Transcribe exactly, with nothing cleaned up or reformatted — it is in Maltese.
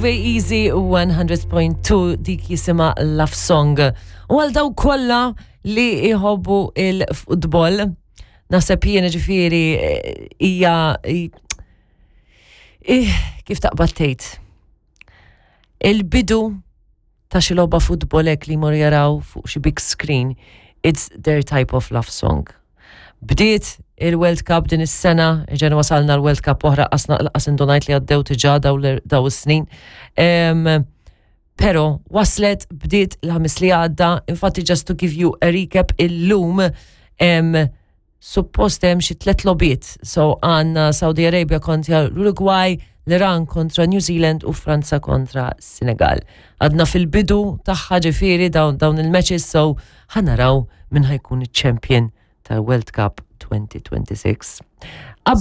Easy one hundred point two, dik jisimha Love Song. U għal daw kollha li jħobbu il-futbol, naħseb jiena ġifieri eh, hija eh, kif taqbad tgħid. Il-bidu ta' xi logħba futbol hekk li jmorru jaraw fuq xi big screen, it's their type of love song. Bdiet il-World Cup din is-sena, ġen wasalna l-World Cup oħra, qasna qas indunajt li għaddew diġà daw daw is-snin. Em, Pero waslet, bdiet il-Ħamis li għadda, infatti just to give you a recap, illum em, suppost hemm xi tliet logħbiet. So għandna Saudi Arabia kontra l-Uruguay, l-Iran kontra New Zealand u Franza kontra Senegal. Għadna fil-bidu tagħha ġifieri dawn, dawn il-matches, so ħa naraw min ħa jkun il-champion tal-World Cup twenty twenty-six. Aba